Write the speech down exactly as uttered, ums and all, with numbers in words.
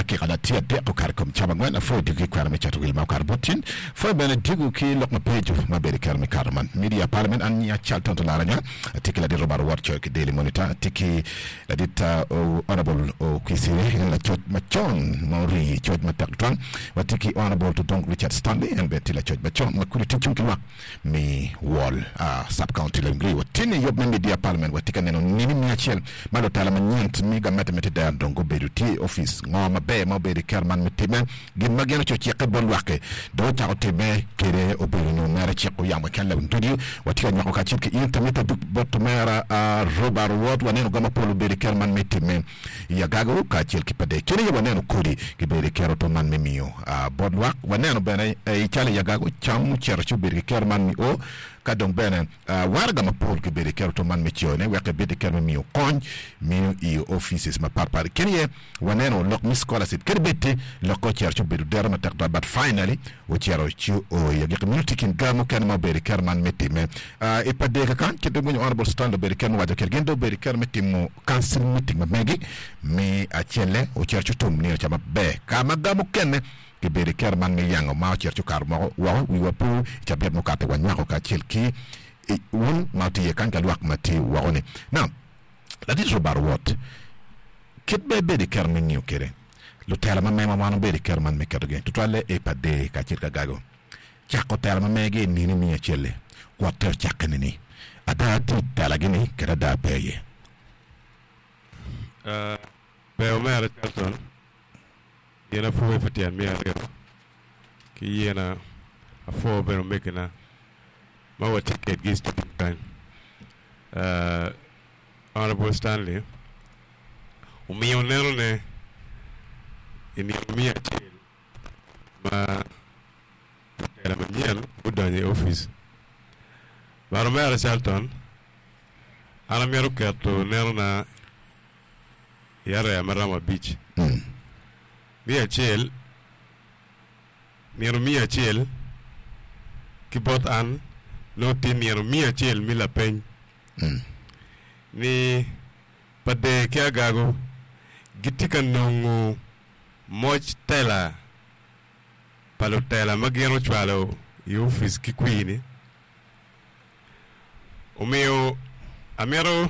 Dakika na tye adek okato i kom cawa angwen apwoyo diko ki kwena me cato wil ma okato bot tin. Pwoyo bene diko ki lok mabeco ma bedo i kero me kato man. Media Parliament an nya Charlton Olaranya atye ki ladit Robert Owot coyo ki Daily Monitor atye ki ladit Honourable Okwisire en lacoc macon ma orii coc matek tutwal watye ki Honourable Todong Richard Stanley en bene tye lacoc macon ma kudi tye cung ki lwak me Wall Sub County Lengri. Watye ni yub me Media Parliament watye ka neno nini miya acel ma lutela manyen me gamente me Tidera dong gubedo tye i opic. Ngo maber ma obedo i kero man me time? Gin ma gin oco cikke bot lwak-ki dong ocako time kede obedo nyo mere ciko yamo keken lewin ducu. Watye ka nywako kacel ki in tamita duk bot omera Robert Owot. Waneno ga mapol obedo i kero man me time i Agago kacel ki Padee. Kene aye waneno kodi gibedo i kero to man me miyo bot lwak. Waneno bene i calo i Agago cam ocito ci obedo ki kero man me o ka dong bene waraga mapol gibedo i kero to man me cone wek ebed i kero me miyo kony miyo i offices mapat pat. Kene aye waneno lok me scholarship kadi bed ti lok ocito ci obedo dero matek twatwal but finally ocito ci o i agikki meno tye kin ga mukene ma obedo i kero man me time i Padee kakany kit dong winyo Honourable Stanley obedo i kero me waco kede gin dong obedo i kero me timo council meeting ma megi me acelle ocito ci otum nino ca maber ka ma ga mukene gibedo i kero man me yango ma ocito ci okato moko woko wiwa po i cabit mukato wanywako kacel ki wun ma wutye iye kany ka lwak ma tye woko ni now ladit Robert Owot kit ma ibedo i kero me ngiyo kwede lutela ma mewa wan obedo i kero man me ketogi tutwalle i Padee kacel ki Agago cako tela ma megi i nini miya acel-li wotte ocakke nini ada tye i telagi-ni kede ada pe iye. Ber omera Charlton, in apwoyi pi tyen miya aryo ki yena apwo bene omegina ma watye kedgi i studio kany. Honourable Stanley omiyo nenone i nino miya acel ma lutela manyen gudonyo i opic. But omera Charlton, an amito keto nenona i area ma romo abic. Miya acel, nino miya acel ki bot an nongo tye nino miya acel me lapeny ni Pader ki Agago gitye ka nongo moc tela pa lutela ma gin ocwalo i opic ki kwir-ni. Omiyo amito